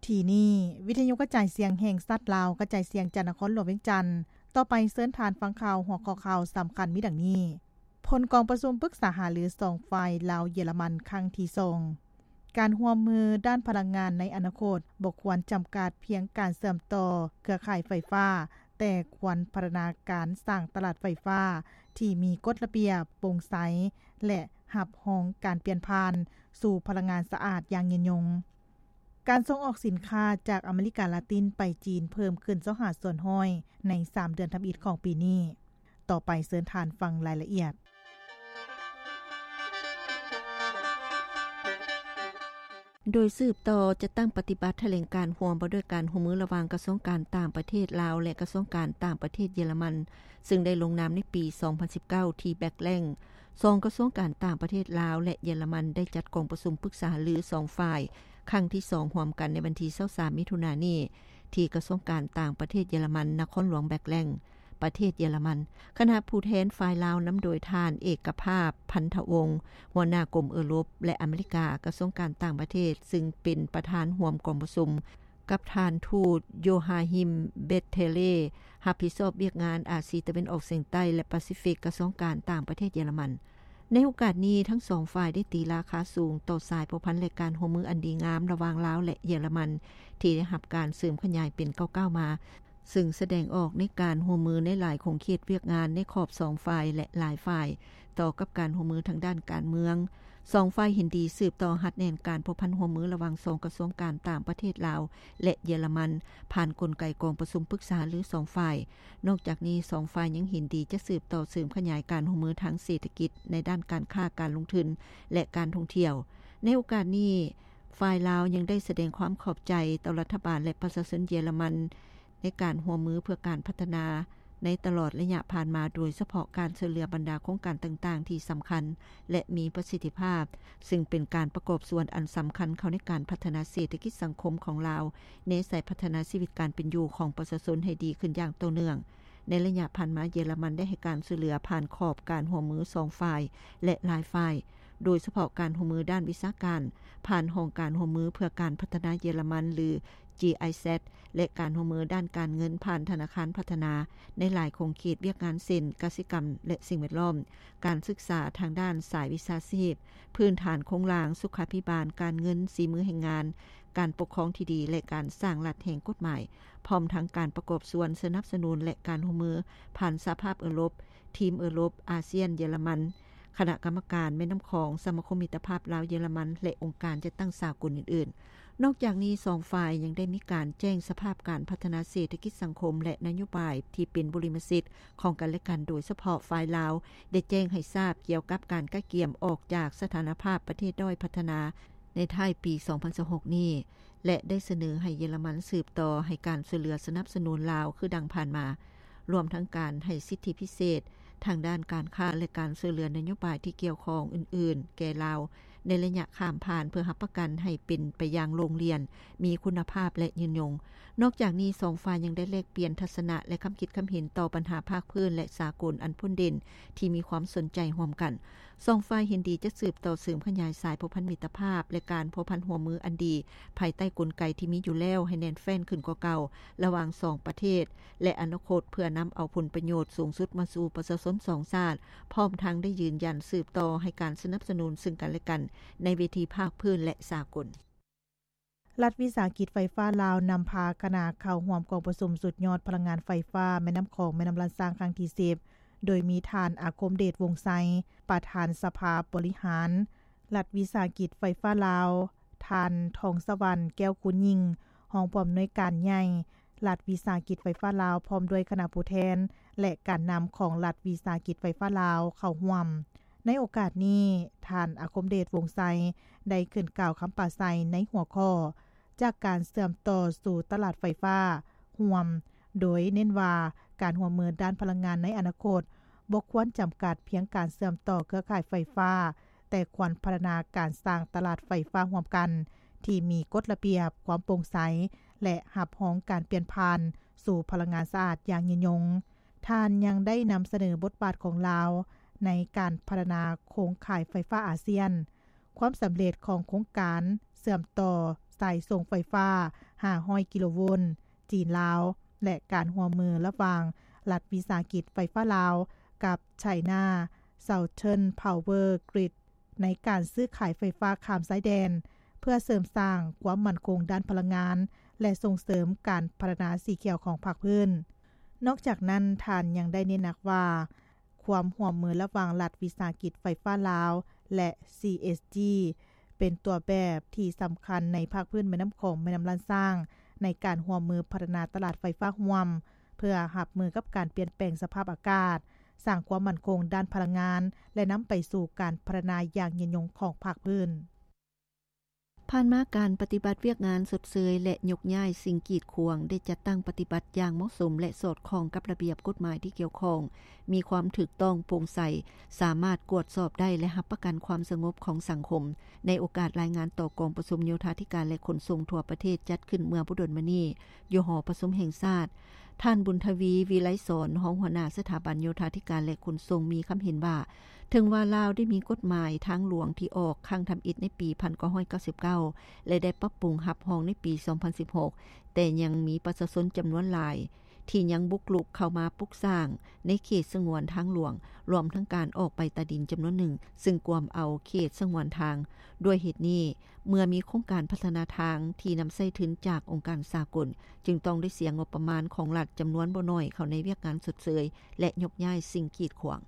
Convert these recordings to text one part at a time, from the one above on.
ທີ່ນີ້ ວິທະຍຸກະຈາຍສຽງແຫ່ງຊາດລາວ ກະຈາຍສຽງຈາກນະຄອນຫຼວງວຽງຈັນ. ຕໍ່ໄປເຊີນທ່ານຟັງຂ່າວ ຫົວຂໍ້ຂ່າວສຳຄັນມີດັ່ງນີ້: ຜົນກອງປະຊຸມປຶກສາຫາລືສອງຝ່າຍ ລາວ-ເຢຍລະມັນ ຄັ້ງທີສອງ. ການຮ່ວມມືດ້ານພະລັງງານໃນອະນາຄົດ ບໍ່ຄວນຈຳກັດພຽງການເຊື່ອມຕໍ່ເຄືອຂ່າຍໄຟຟ້າ, ແຕ່ຄວນພັດທະນາການສ້າງຕະຫຼາດໄຟຟ້າທີ່ມີກົດລະບຽບ, ໂປ່ງໃສ ແລະ ຮັບຮອງການປ່ຽນຜ່ານສູ່ພະລັງງານສະອາດຢ່າງຍືນຍົງ. ການສົ່ງອອກສິນຄ້າຈາກອາເມລິກາລາຕິນໄປຈີນເພີ່ມຂຶ້ນຊາວຫ້າສ່ວນຮ້ອຍໃນສາມເດືອນທຳອິດຂອງປີນີ້. ຕໍ່ໄປເຊີນທ່ານຟັງລາຍລະອຽດ. ໂດຍສືບຕໍ່ຈັດຕັ້ງປະຕິບັດຖະແຫຼງການຮ່ວມ ວ່າດ້ວຍການຮ່ວມມືລະຫວ່າງກະຊວງການຕ່າງປະເທດລາວ ແລະ ກະຊວງການຕ່າງປະເທດເຢຍລະມັນ, ຊຶ່ງໄດ້ລົງນາມໃນປີສອງພັນສິບເກົ້າ ທີ່ແບັກແລັງ. ສອງກະຊວງການຕ່າງປະເທດລາວ ແລະ ເຢຍລະມັນ ໄດ້ຈັດກອງປະຊຸມປຶກສາຫາລືສອງຝ່າຍ ຄັ້ງທີສອງ ຮ່ວມກັນໃນວັນທີຊາວສາມ ມິຖຸນານີ້ ທີ່ກະຊວງການຕ່າງປະເທດເຢຍລະມັນ, ນະຄອນຫຼວງແບັກແລັງ, ປະເທດເຢຍລະມັນ. ຄະນະຜູ້ແທນຝ່າຍລາວນຳໂດຍທ່ານ ເອກະພາບ ພັນທະວົງ ຫົວໜ້າກົມເອີຣົບ ແລະ ອາເມລິກາ, ກະຊວງການຕ່າງປະເທດ ຊຶ່ງເປັນປະທານຮ່ວມກອງປະຊຸມ ກັບທ່ານທູດ ໂຢຮາຮິມ ເບັດເທເລ ຮັບຜິດຊອບວຽກງານອາຊີຕາເວັນອອກສຽງໃຕ້ ແລະ ປາຊີຟິກ, ກະຊວງການຕ່າງປະເທດເຢຍລະມັນ. ໃນໂອກາດນີ້, ທັງສອງຝ່າຍໄດ້ຕີລາຄາສູງຕໍ່ສາຍພົວພັນ ແລະ ການຮ່ວມມືອັນດີງາມລະຫວ່າງລາວ ແລະ ເຢຍລະມັນ ທີ່ໄດ້ຮັບການເສີມຂະຫຍາຍເປັນກ້າວໆມາ, ຊຶ່ງສະແດງອອກໃນການຮ່ວມມືໃນຫຼາຍຂົງເຂດວຽກງານໃນຂອບສອງຝ່າຍ ແລະ ຫຼາຍຝ່າຍ, ຕໍ່ກັບການຮ່ວມມືທາງດ້ານການເມືອງ. ສອງຝ່າຍເຫັນດີສືບຕໍ່ຮັດແໜ້ນການພົວພັນຮ່ວມມືລະຫວ່າງສອງກະຊວງການຕ່າງປະເທດລາວ ແລະ ເຢຍລະມັນ ຜ່ານກົນໄກກອງປະຊຸມປຶກສາຫາລືສອງຝ່າຍ. ນອກຈາກນີ້, ສອງຝ່າຍຍັງເຫັນດີຈະສືບຕໍ່ເສີມຂະຫຍາຍການຮ່ວມມືທາງເສດຖະກິດ ໃນດ້ານການຄ້າ, ການລົງທຶນ ແລະ ການທ່ອງທ່ຽວ. ໃນໂອກາດນີ້, ຝ່າຍລາວຍັງໄດ້ສະແດງຄວາມຂອບໃຈຕໍ່ລັດຖະບານ ແລະ ປະຊາຊົນເຢຍລະມັນ ໃນການຮ່ວມມືເພື່ອການພັດທະນາໃນຕະຫຼອດໄລຍະຜ່ານມາ, ໂດຍສະເພາະການຊ່ວຍເຫຼືອບັນດາໂຄງການຕ່າງໆທີ່ສຳຄັນ ແລະ ມີປະສິດທິພາບ, ຊຶ່ງເປັນການປະກອບສ່ວນອັນສຳຄັນເຂົ້າໃນການພັດທະນາເສດຖະກິດສັງຄົມຂອງລາວ, ແນໃສ່ພັດທະນາຊີວິດການເປັນຢູ່ຂອງປະຊາຊົນໃຫ້ດີຂຶ້ນຢ່າງຕໍ່ເນື່ອງ. ໃນໄລຍະຜ່ານມາ, ເຢຍລະມັນໄດ້ໃຫ້ການຊ່ວຍເຫຼືອຜ່ານຂອບການຮ່ວມມືສອງຝ່າຍ ແລະ ຫຼາຍຝ່າຍ, ໂດຍສະເພາະການຮ່ວມມືດ້ານວິຊາການ, ຜ່ານຫ້ອງການຮ່ວມມືເພື່ອການພັດທະນາເຢຍລະມັນ ຫຼື ຈີໄອແຊັດ ແລະ ການຮ່ວມມືດ້ານການເງິນຜ່ານທະນາຄານພັດທະນາ ໃນຫຼາຍຂົງເຂດວຽກງານ ເຊັ່ນ ກະສິກຳ ແລະ ສິ່ງແວດລ້ອມ, ການສຶກສາທາງດ້ານສາຍວິຊາຊີບ, ພື້ນຖານໂຄງລ່າງ, ສຸຂາພິບານ, ການເງິນ, ສີມືແຮງງານ, ການປົກຄອງທີ່ດີ ແລະ ການສ້າງລັດແຫ່ງກົດໝາຍ, ພ້ອມທັງການປະກອບສ່ວນສະໜັບສະໜູນ ແລະ ການຮ່ວມມືຜ່ານສະຫະພາບເອີຣົບ, ທີມເອີຣົບ, ອາຊຽນ, ເຢຍລະມັນ, ຄະນະກຳມະການແມ່ນ້ຳຂອງ, ສະມາຄົມມິດຕະພາບລາວ-ເຢຍລະມັນ ແລະ ອົງການຈັດຕັ້ງສາກົນອື່ນໆ. ນອກຈາກນີ້, ສອງຝ່າຍຍັງໄດ້ມີການແຈ້ງສະພາບການພັດທະນາເສດຖະກິດສັງຄົມ ແລະ ນະໂຍບາຍທີ່ເປັນບຸລິມະສິດຂອງກັນ ແລະ ກັນ, ໂດຍສະເພາະຝ່າຍລາວໄດ້ແຈ້ງໃຫ້ຊາບກ່ຽວກັບການກະກຽມອອກຈາກສະຖານະພາບປະເທດດ້ອຍພັດທະນາໃນທ້າຍປີສອງພັນຊາວຫົກນີ້ ແລະ ໄດ້ສະເໜີໃຫ້ເຢຍລະມັນສືບຕໍ່ໃຫ້ການຊ່ວຍເຫຼືອສະໜັບສະໜູນລາວຄືດັ່ງຜ່ານມາ, ລວມທັງການໃຫ້ສິດທິພິເສດທາງດ້ານການຄ້າ ແລະ ການຊ່ວຍເຫຼືອນະໂຍບາຍທີ່ກ່ຽວຂ້ອງອື່ນໆແກ່ລາວ ໃນໄລຍະຂ້າມຜ່ານ ເພື່ອຮັບປະກັນໃຫ້ເປັນໄປຢ່າງໂລ່ງລ່ຽນ, ມີຄຸນນະພາບ ແລະ ຍືນຍົງ. ນອກຈາກນີ້, ສອງຝ່າຍຍັງໄດ້ແລກປ່ຽນທັດສະນະ ແລະ ຄຳຄິດຄຳເຫັນຕໍ່ບັນຫາພາກພື້ນ ແລະ ສາກົນອັນພົ້ນເດັ່ນທີ່ມີຄວາມສົນໃຈຮ່ວມກັນ. ສອງຝ່າຍເຫັນດີຈະສືບຕໍ່ເສີມຂະຫຍາຍສາຍພົວພັນມິດຕະພາບ ແລະ ການພົວພັນຮ່ວມມືອັນດີ ພາຍໃຕ້ກົນໄກທີ່ມີຢູ່ແລ້ວໃຫ້ແໜ້ນແຟ້ນຂຶ້ນກວ່າເກົ່າ ລະຫວ່າງສອງປະເທດ ແລະ ອະນາຄົດ ເພື່ອນຳເອົາຜົນປະໂຫຍດສູງສຸດມາສູ່ປະຊາຊົນສອງຊາດ, ພ້ອມທັງໄດ້ຢືນຢັນສືບຕໍ່ໃຫ້ການສະໜັບສະໜູນເຊິ່ງກັນ ແລະ ກັນໃນເວທີພາກພື້ນ ແລະ ສາກົນ. ລັດວິສາຫະກິດໄຟຟ້າລາວນຳພາຄະນະເຂົ້າຮ່ວມກອງປະຊຸມສຸດຍອດພະລັງງານໄຟຟ້າແມ່ນ້ຳຂອງ ແມ່ນ້ຳລານຊ້າງ ຄັ້ງທີສິບ ໂດຍມີທ່ານ ອາຄົມເດດ ວົງໄຊ ປະທານສະພາບໍລິຫານລັດວິສາຫະກິດໄຟຟ້າລາວ, ທ່ານ ທອງສະຫວັນ ແກ້ວຄູນຍິ່ງ ຮອງຜູ້ອຳນວຍການໃຫຍ່ລັດວິສາຫະກິດໄຟຟ້າລາວ ພ້ອມດ້ວຍຄະນະຜູ້ແທນ ແລະ ການນຳຂອງລັດວິສາຫະກິດໄຟຟ້າລາວເຂົ້າຮ່ວມ. ໃນໂອກາດນີ້, ທ່ານ ອາຄົມເດດ ວົງໄຊ ໄດ້ຂຶ້ນກ່າວຄຳປາໄສໃນຫົວຂໍ້ ຈາກການເຊື່ອມຕໍ່ສູ່ຕະຫຼາດໄຟຟ້າຮ່ວມ, ໂດຍເນັ້ນວ່າການຮ່ວມມືດ້ານພະລັງງານໃນອະນາຄົດ ບໍ່ຄວນຈຳກັດພຽງການເຊື່ອມຕໍ່ເຄືອຂ່າຍໄຟຟ້າ, ແຕ່ຄວນພັດທະນາການສ້າງຕະຫຼາດໄຟຟ້າຮ່ວມກັນ ທີ່ມີກົດລະບຽບ, ຄວາມໂປ່ງໃສ ແລະ ຮັບຮອງການປ່ຽນຜ່ານສູ່ພະລັງງານສະອາດຢ່າງຍືນຍົງ. ທ່ານຍັງໄດ້ນຳສະເໜີບົດບາດຂອງລາວໃນການພັດທະນາໂຄງຂ່າຍໄຟຟ້າອາຊຽນ, ຄວາມສຳເລັດຂອງໂຄງການເຊື່ອມຕໍ່ ສາຍສົ່ງໄຟຟ້າຫ້າຮ້ອຍກິໂລໂວນ ຈີນ-ລາວ ແລະ ການຮ່ວມມືລະຫວ່າງລັດວິສາຫະກິດໄຟຟ້າລາວ ກັບ China Southern Power Grid ໃນການຊື້ຂາຍໄຟຟ້າຂ້າມຊາຍແດນ ເພື່ອເສີມສ້າງຄວາມໝັ້ນຄົງດ້ານພະລັງງານ ແລະ ສົ່ງເສີມການພັດທະນາສີຂຽວຂອງພາກພື້ນ. ນອກຈາກນັ້ນ, ທ່ານຍັງໄດ້ເນັ້ນໜັກວ່າ ຄວາມຮ່ວມມືລະຫວ່າງລັດວິສາຫະກິດໄຟຟ້າລາວ ແລະ CSG ເປັນຕົວແບບທີ່ສຳຄັນໃນພາກພື້ນແມ່ນ້ຳຂອງ ແມ່ນ້ຳລ້ານຊ້າງ ໃນການຮ່ວມມືພັດທະນາຕະຫຼາດໄຟຟ້າຮ່ວມ ເພື່ອຮັບມືກັບການປ່ຽນແປງສະພາບອາກາດ, ສ້າງຄວາມໝັ້ນຄົງດ້ານພະລັງງານ ແລະ ນຳໄປສູ່ການພັດທະນາຢ່າງຍືນຍົງຂອງພາກພື້ນ. ຜ່ານມາ, ການປະຕິບັດວຽກງານຊົດເຊີຍ ແລະ ຍົກຍ້າຍສິ່ງກີດຂວາງ ໄດ້ຈັດຕັ້ງປະຕິບັດຢ່າງເໝາະສົມ ແລະ ສອດຄ່ອງກັບລະບຽບກົດໝາຍທີ່ກ່ຽວຂ້ອງ, ມີຄວາມຖືກຕ້ອງໂປ່ງໃສ, ສາມາດກວດສອບໄດ້ ແລະ ຮັບປະກັນຄວາມສະຫງົບຂອງສັງຄົມ. ໃນໂອກາດລາຍງານຕໍ່ກອງປະຊຸມໂຍທາທິການ ແລະ ຂົນສົ່ງທົ່ວປະເທດ ຈັດຂຶ້ນເມື່ອບໍ່ດົນມານີ້ ຢູ່ຫໍປະຊຸມແຫ່ງຊາດ, ທ່ານ ບຸນທະວີ ວິໄລສອນ ຮອງຫົວໜ້າສະຖາບັນໂຍທາທິການ ແລະ ຂົນສົ່ງ ມີຄຳເຫັນວ່າ ເຖິງວ່າລາວໄດ້ມີກົດໝາຍທາງຫຼວງທີ່ອອກຄັ້ງທຳອິດໃນປີພັນເກົ້າຮ້ອຍເກົ້າສິບເກົ້າ ແລະ ໄດ້ປັບປຸງຮັບຮອງໃນປີສອງພັນສິບຫົກ ແຕ່ຍັງມີປະຊາຊົນຈຳນວນຫຼາຍທີ່ຍັງບຸກລຸກເຂົ້າມາປຸກສ້າງໃນເຂດສະຫງວນທາງຫຼວງ, ລວມທັງການອອກໃບຕາດິນຈຳນວນໜຶ່ງ, ຊຶ່ງກວມເອົາເຂດສະຫງວນທາງ. ດ້ວຍເຫດນີ້, ເມື່ອມີໂຄງການພັດທະນາທາງທີ່ນຳໃຊ້ທຶນຈາກອົງການສາກົນ, ຈຶ່ງຕ້ອງໄດ້ເສຍງົບປະມານຂອງລັດຈຳນວນບໍ່ໜ້ອຍເຂົ້າໃນວຽກງານຊົດເຊີຍ ແລະ ຍົກຍ້າຍສິ່ງກີດຂວາງ.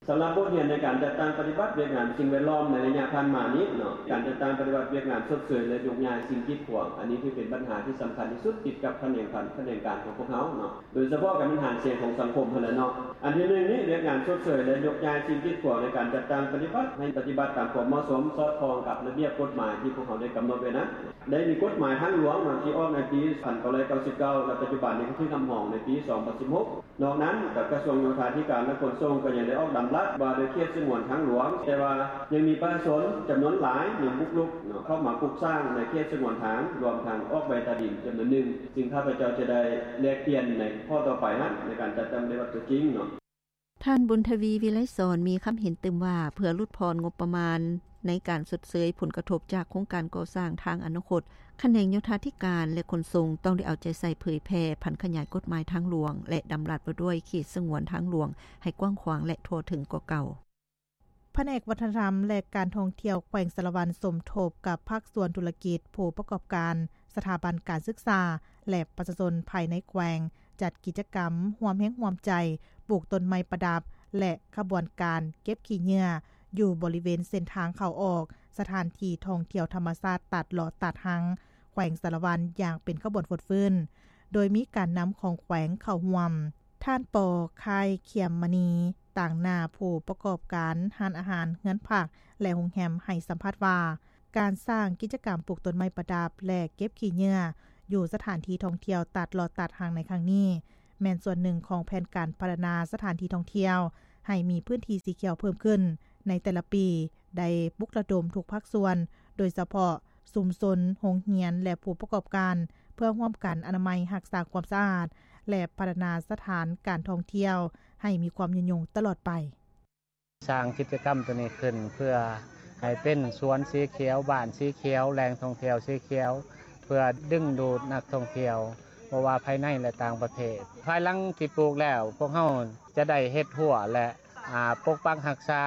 ສຳລັບບົດຮຽນໃນການຈັດຕັ້ງປະຕິບັດວຽກງານສິ່ງແວດລ້ອມໃນໄລຍະຜ່ານມານີ້ເນາະ, ການຈັດຕັ້ງປະຕິບັດວຽກງານຊົດເຊີຍ ແລະ ຍົກຍ້າຍສິ່ງກີດຂວາງ, ອັນນີ້ຖືເປັນບັນຫາທີ່ສຳຄັນທີ່ສຸດຕິດກັບຂະແໜງການຂອງພວກເຮົາເນາະ, ໂດຍສະເພາະການບັນຫາສຽງຂອງສັງຄົມຫັ້ນແຫຼະເນາະ. ອັນທີໜຶ່ງນີ້ ວຽກງານຊົດເຊີຍ ແລະ ຍົກຍ້າຍສິ່ງກີດຂວາງໃນການຈັດຕັ້ງປະຕິບັດໃຫ້ປະຕິບັດຕາມຄວາມເໝາະສົມ ສອດຄ່ອງກັບລະບຽບກົດໝາຍທີ່ພວກເຮົາໄດ້ກຳນົດໄວ້ນັ້ນ. ໄດ້ມີກົດໝາຍທາງຫຼວງເນາະ ທີ່ອອກໃນປີພັນເກົ້າຮ້ອຍເກົ້າສິບເກົ້າ ແລະ ປັດຈຸບັນນີ້ກໍຖືກຮັບຮອງໃນປີສອງພັນສິບຫົກ. ນອກນັ້ນ, ກະຊວງໂຍທາທິການ ແລະ ຂົນສົ່ງ ກໍຍັງໄດ້ອອກດຳລັດວ່າດ້ວຍເຂດສະຫງວນທາງຫຼວງ, ແຕ່ວ່າຍັງມີປະຊາຊົນຈຳນວນຫຼາຍຍັງບຸກລຸກເນາະ ເຂົ້າມາປຸກສ້າງໃນເຂດສະຫງວນທາງ, ລວມທັງອອກໃບຕາດິນຈຳນວນໜຶ່ງ, ຊຶ່ງຂ້າພະເຈົ້າຈະໄດ້ແລກປ່ຽນໃນຂໍ້ຕໍ່ໄປຫັ້ນ ໃນການຈັດຕັ້ງປະຕິບັດຕົວຈິງເນາະ. ທ່ານ ບຸນທະວີ ວິໄລສອນ ມີຄຳເຫັນຕື່ມວ່າ ເພື່ອຫຼຸດຜ່ອນງົບປະມານໃນການຊົດເຊີຍຜົນກະທົບຈາກໂຄງການກໍ່ສ້າງທາງອະນາຄົດ, ຂະແໜງໂຍທາທິການ ແລະ ຂົນສົ່ງ ຕ້ອງໄດ້ເອົາໃຈໃສ່ເຜີຍແຜ່ຜັນຂະຫຍາຍກົດໝາຍທາງຫຼວງ ແລະ ດຳລັດວ່າດ້ວຍເຂດສະຫງວນທາງຫຼວງໃຫ້ກວ້າງຂວາງ ແລະ ທົ່ວເຖິງກວ່າເກົ່າ. ພະແນກວັດທະນະທຳ ແລະ ການທ່ອງທ່ຽວແຂວງສາລະວັນ ສົມທົບກັບພາກສ່ວນທຸລະກິດ, ຜູ້ປະກອບການ, ສະຖາບັນການສຶກສາ ແລະ ປະຊາຊົນພາຍໃນແຂວງ ຈັດກິດຈະກຳຮ່ວມແຮງຮ່ວມໃຈປູກຕົ້ນໄມ້ປະດັບ ແລະ ຂະບວນການເກັບຂີ້ເຫຍື້ອ ຢູ່ບໍລິເວນເສັ້ນທາງເຂົ້າອອກສະຖານທີ່ທ່ອງທ່ຽວທຳມະຊາດຕາດຫຼໍ່ຕາດຮັງ ແຂວງສາລະວັນ ຢ່າງເປັນຂະບວນຟົດຟື້ນ, ໂດຍມີການນຳຂອງແຂວງເຂົ້າຮ່ວມ. ທ່ານ ປໍ ຄ້າຍ ຂຽມມະນີ ຕາງໜ້າຜູ້ປະກອບການຮ້ານອາຫານ, ເຮືອນພັກ ແລະ ໂຮງແຮມ ໃຫ້ສຳພາດວ່າ ການສ້າງກິດຈະກຳປູກຕົ້ນໄມ້ປະດັບ ແລະ ເກັບຂີ້ເຫຍື້ອ ຢູ່ສະຖານທີ່ທ່ອງທ່ຽວຕາດຫຼໍ່ຕາດຮັງໃນຄັ້ງນີ້ ແມ່ນສ່ວນໜຶ່ງຂອງແຜນການພັດທະນາສະຖານທີ່ທ່ອງທ່ຽວ ໃຫ້ມີພື້ນທີ່ສີຂຽວເພີ່ມຂຶ້ນໃນແຕ່ລະປີ, ໄດ້ປຸກລະດົມທຸກພາກສ່ວນ, ໂດຍສະເພາະຊຸມຊົນ, ໂຮງຮຽນ ແລະ ຜູ້ປະກອບການ ເພື່ອຮ່ວມກັນອະນາໄມ, ຮັກສາຄວາມສະອາດ ແລະ ພັດທະນາສະຖານການທ່ອງທ່ຽວໃຫ້ມີຄວາມຍືນຍົງຕະຫຼອດໄປ. ສ້າງກິດຈະກຳໂຕນີ້ຂຶ້ນເພື່ອໃຫ້ເປັນສວນສີຂຽວ, ບ້ານສີຂຽວ, ແຫຼ່ງທ່ອງທ່ຽວສີຂຽວ, ເພື່ອດຶງດູດນັກທ່ອງທ່ຽວ ບໍ່ວ່າພາຍໃນ ແລະ ຕ່າງປະເທດ. ພາຍຫຼັງທີ່ປູກແລ້ວ, ພວກເຮົາຈະໄດ້ເຮັດຮົ້ວ ແລະ ອາ, ປົກປັກຮັກສາ,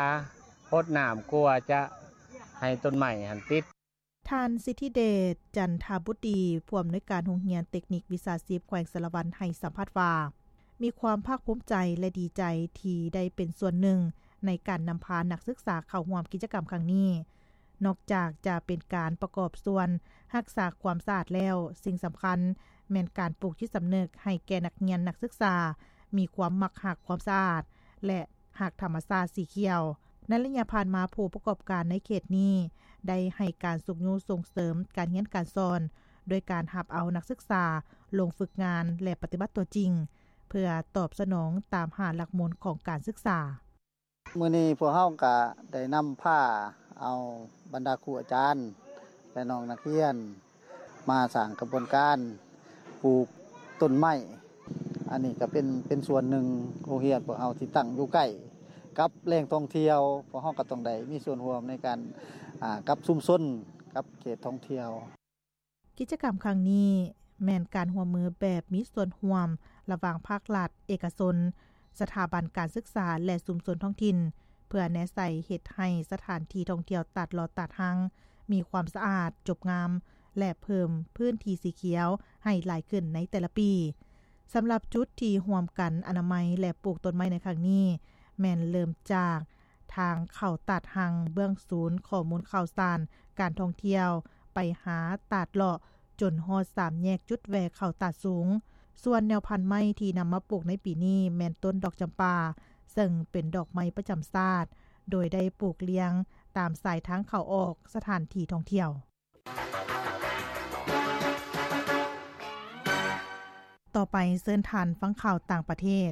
ຫົດນ້ຳ, ກົວຈະໃຫ້ຕົ້ນໄມ້ຫັ້ນຕິດ. ທ່ານ ສິດທິເດດ ຈັນທະບຸດດີ ຜູ້ອຳນວຍການໂຮງຮຽນເຕັກນິກວິຊາຊີບແຂວງສາລະວັນ ໃຫ້ສຳພາດວ່າ ມີຄວາມພາກພູມໃຈ ແລະ ດີໃຈທີ່ໄດ້ເປັນສ່ວນໜຶ່ງໃນການນຳພານັກສຶກສາເຂົ້າຮ່ວມກິດຈະກຳຄັ້ງນີ້. ນອກຈາກຈະເປັນການປະກອບສ່ວນຮັກສາຄວາມສະອາດແລ້ວ, ສິ່ງສຳຄັນແມ່ນການປູກຈິດສຳນຶກໃຫ້ແກ່ນັກຮຽນນັກສຶກສາ ມີຄວາມມັກຮັກຄວາມສະອາດ ແລະ ຮັກທຳມະຊາດສີຂຽວ. ໃນໄລຍະຜ່ານມາ, ຜູ້ປະກອບການໃນເຂດນີ້ໄດ້ໃຫ້ການຊຸກຍູ້ສົ່ງເສີມການຮຽນການສອນ ໂດຍການຮັບເອົານັກສຶກສາລົງຝຶກງານ ແລະ ປະຕິບັດຕົວຈິງ ເພື່ອຕອບສະໜອງຕາມຫ້າຫຼັກມູນຂອງການສຶກສາ. ມື້ນີ້ພວກເຮົາກະໄດ້ນຳພາເອົາບັນດາຄູອາຈານ ແລະ ນ້ອງນັກຮຽນ ມາສ້າງຂະບວນການປູກຕົ້ນໄມ້. ອັນນີ້ກໍເປັນ, ເປັນສ່ວນໜຶ່ງ ໂຮງຮຽນພວກເຮົາທີ່ຕັ້ງຢູ່ໃກ້ກັບແຫຼ່ງທ່ອງທ່ຽວ, ພວກເຮົາກໍຕ້ອງໄດ້ມີສ່ວນຮ່ວມໃນການ, ອາ, ກັບຊຸມຊົນ, ກັບເຂດທ່ອງທ່ຽວ. ກິດຈະກຳຄັ້ງນີ້ແມ່ນການຮ່ວມມືແບບມີສ່ວນຮ່ວມລະຫວ່າງພາກລັດ, ເອກະຊົນ, ສະຖາບັນການສຶກສາ ແລະ ຊຸມຊົນທ້ອງຖິ່ນ ເພື່ອແນໃສ່ເຮັດໃຫ້ສະຖານທີ່ທ່ອງທ່ຽວຕາດເລາະຕາດຮັງມີຄວາມສະອາດ, ຈົບງາມ ແລະ ເພີ່ມພື້ນທີ່ສີຂຽວໃຫ້ຫຼາຍຂຶ້ນໃນແຕ່ລະປີ. ສຳລັບຈຸດທີ່ຮ່ວມກັນອະນາໄມ ແລະ ປູກຕົ້ນໄມ້ໃນຄັ້ງນີ້ ແມ່ນເລີ່ມຈາກທາງເຂົ້າຕາດຮັງເບື້ອງສູນຂໍ້ມູນຂ່າວສານການທ່ອງທ່ຽວ ໄປຫາຕາດເລາະ ຈົນຮອດສາມແຍກຈຸດແວ່ເຂົ້າຕາດສູງ. ສ່ວນແນວພັນໄມ້ທີ່ນຳມາປູກໃນປີນີ້ແມ່ນຕົ້ນດອກຈຳປາ, ເຊິ່ງເປັນດອກໄມ້ປະຈຳຊາດ, ໂດຍໄດ້ປູກລຽງຕາມສາຍທາງເຂົ້າອອກສະຖານທີ່ທ່ອງທ່ຽວ. ຕໍ່ໄປເຊີນທ່ານຟັງຂ່າວຕ່າງປະເທດ.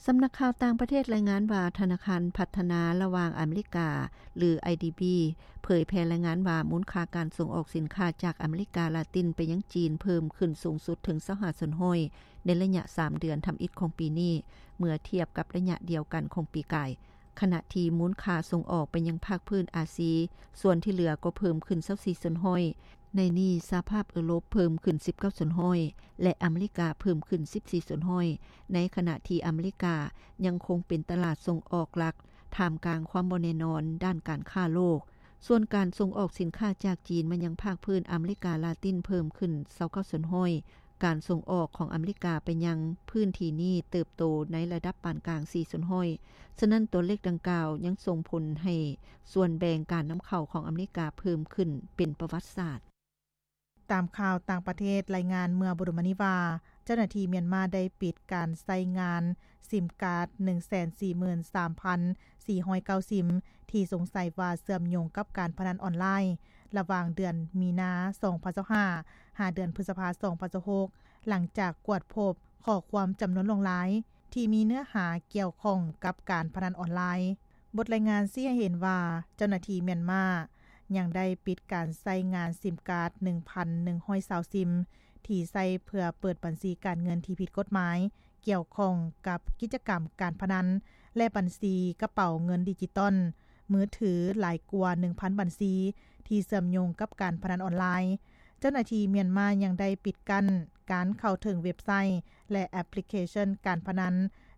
ສຳນັກຂ່າວຕ່າງປະເທດລາຍງານວ່າ ທະນາຄານພັດທະນາລະຫວ່າງອາເມລິກາ ຫຼື ໄອດີບີ ເຜີຍແຜ່ລາຍງານວ່າ ມູນຄ່າການສົ່ງອອກສິນຄ້າຈາກອາເມລິກາລາຕິນໄປຍັງຈີນເພີ່ມຂຶ້ນສູງສຸດເຖິງ ຊາວຫ້າສ່ວນຮ້ອຍ ໃນໄລຍະສາມເດືອນທຳອິດຂອງປີນີ້ ເມື່ອທຽບກັບໄລຍະດຽວກັນຂອງປີກາຍ, ຂະນະທີ່ມູນຄ່າສົ່ງອອກໄປຍັງພາກພື້ນອາຊີ ສ່ວນທີ່ເຫຼືອກໍເພີ່ມຂຶ້ນ ຊາວສີ່ສ່ວນຮ້ອຍ. ໃນນີ້ ສະຫະພາບເອີຣົບເພີ່ມຂຶ້ນ ສິບເກົ້າສ່ວນຮ້ອຍ ແລະ ອາເມລິກາເພີ່ມຂຶ້ນ ສິບສີ່ສ່ວນຮ້ອຍ ໃນຂະນະທີ່ອາເມລິກາຍັງຄົງເປັນຕະຫຼາດສົ່ງອອກຫຼັກ ທ່າມກາງຄວາມບໍ່ແນ່ນອນດ້ານການຄ້າໂລກ. ສ່ວນການສົ່ງອອກສິນຄ້າຈາກຈີນມາຍັງພາກພື້ນອາເມລິກາລາຕິນເພີ່ມຂຶ້ນ ຊາວເກົ້າສ່ວນຮ້ອຍ. ການສົ່ງອອກຂອງອາເມລິກາໄປຍັງພື້ນທີ່ນີ້ເຕີບໂຕໃນລະດັບປານກາງ ສີ່ສ່ວນຮ້ອຍ. ສະນັ້ນ ຕົວເລກດັ່ງກ່າວຍັງສົ່ງຜົນໃຫ້ສ່ວນແບ່ງການນຳເຂົ້າຂອງອາເມລິກາເພີ່ມຂຶ້ນເປັນປະຫວັດສາດ. ຕາມຂ່າວຕ່າງປະເທດລາຍງານເມື່ອບໍ່ດົນມານີ້ວ່າ ເຈົ້າໜ້າທີ່ມຽນມາໄດ້ປິດການໃຊ້ງານຊິມກາດ ໜຶ່ງແສນສີ່ໝື່ນສາມພັນສີ່ຮ້ອຍເກົ້າ ຊິມ ທີ່ສົງໄສວ່າເຊື່ອມໂຍງກັບການພະນັນອອນລາຍ ລະຫວ່າງເດືອນມີນາ ສອງພັນຊາວຫ້າ ຫາເດືອນພຶດສະພາ ສອງພັນຊາວຫົກ ຫຼັງຈາກກວດພົບຂໍ້ຄວາມຈຳນວນຫຼວງຫຼາຍ ທີ່ມີເນື້ອຫາກ່ຽວຂ້ອງກັບການພະນັນອອນລາຍ. ບົດລາຍງານຊີ້ໃຫ້ເຫັນວ່າ ເຈົ້າໜ້າທີ່ມຽນມາຍັງໄດ້ປິດການໃຊ້ງານຊິມກາດ ໜຶ່ງພັນໜຶ່ງຮ້ອຍຊາວ ຊິມ ທີ່ໃຊ້ເພື່ອເປີດບັນຊີການເງິນທີ່ຜິດກົດໝາຍ ກ່ຽວຂ້ອງກັບກິດຈະກຳການພະນັນ ແລະ ບັນຊີກະເປົາເງິນດິຈິຕອນມືຖືຫຼາຍກວ່າ ໜຶ່ງພັນບັນຊີ ທີ່ເຊື່ອມໂຍງກັບການພະນັນອອນລາຍ. ເຈົ້າໜ້າທີ່ມຽນມາຍັງໄດ້ປິດກັ້ນການເຂົ້າເຖິງເວັບໄຊ ແລະ ແອັບພລິເຄຊັນການພະນັນ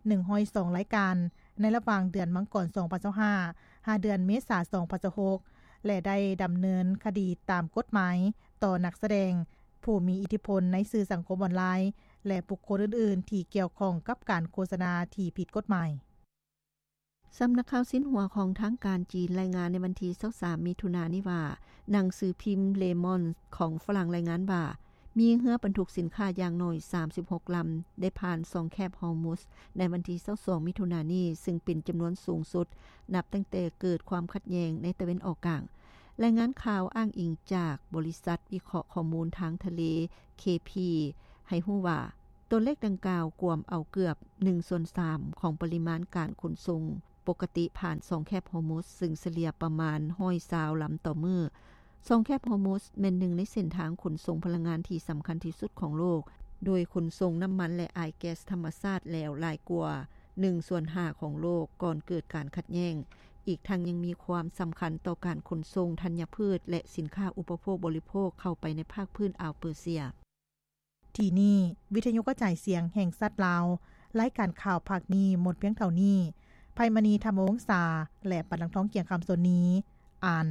ໜຶ່ງຮ້ອຍສອງລາຍການ ໃນລະຫວ່າງເດືອນມັງກອນ ສອງພັນຊາວຫ້າ ຫາເດືອນເມສາ ສອງພັນຊາວຫົກ ແລະ ໄດ້ດຳເນີນຄະດີຕາມກົດໝາຍຕໍ່ນັກສະແດງ, ຜູ້ມີອິດທິພົນໃນສື່ສັງຄົມອອນລາຍ ແລະ ບຸກຄົນອື່ນໆທີ່ກ່ຽວຂ້ອງກັບການໂຄສະນາທີ່ຜິດກົດໝາຍ. ສຳນັກຂ່າວຊິນຫົວຂອງທາງການຈີນລາຍງານໃນວັນທີ ຊາວສາມ ມິຖຸນານີ້ວ່າ ໜັງສືພິມ Le Monde ຂອງຝຣັ່ງລາຍງານວ່າ ມີເຮືອບັນທຸກສິນຄ້າຢ່າງໜ້ອຍ ສາມສິບຫົກລຳ ໄດ້ຜ່ານຊ່ອງແຄບຮອຣມຸດໃນວັນທີ ຊາວສອງ ມິຖຸນານີ້ ຊຶ່ງເປັນຈຳນວນສູງສຸດນັບຕັ້ງແຕ່ເກີດຄວາມຂັດແຍ່ງໃນຕາເວັນອອກກາງ. ລາຍງານຂ່າວອ້າງອີງຈາກບໍລິສັດວິເຄາະຂໍ້ມູນທາງທະເລ ເຄພີ ໃຫ້ຮູ້ວ່າ ຕົວເລກດັ່ງກ່າວກວມເອົາເກືອບໜຶ່ງສ່ວນສາມຂອງປະລິມານການຂົນສົ່ງປົກກະຕິຜ່ານຊ່ອງແຄບຮອຣມຸດ, ຊຶ່ງສະເລ່ຍປະມານຮ້ອຍຊາວລຳຕໍ່ມື້. ຊ່ອງແຄບຮອຣມຸດແມ່ນໜຶ່ງໃນເສັ້ນທາງຂົນສົ່ງພະລັງງານທີ່ສຳຄັນທີ່ສຸດຂອງໂລກ, ໂດຍຂົນສົ່ງນ້ຳມັນ ແລະ ອາຍແກັສທຳມະຊາດແລ້ວຫຼາຍກວ່າໜຶ່ງສ່ວນຫ້າຂອງໂລກກ່ອນເກີດການຂັດແຍ່ງ. ອີກທັງຍັງມີຄວາມສຳຄັນຕໍ່ການຂົນສົ່ງທັນຍະພືດ ແລະ ສິນຄ້າອຸປະໂພກບໍລິໂພກເຂົ້າໄປໃນພາກພື້ນອ່າວເປີເຊຍ. ທີ່ນີ້ ວິທະຍຸກະຈາຍສຽງແຫ່ງຊາດລາວ, ລາຍການຂ່າວພາກນີ້ໝົດພຽງເທົ່ານີ້. ໄພມະນີ ທຳວົງສາ ແລະ ປານລັງທອງ ກຽງຄຳ ສົນນີ ອ່ານ.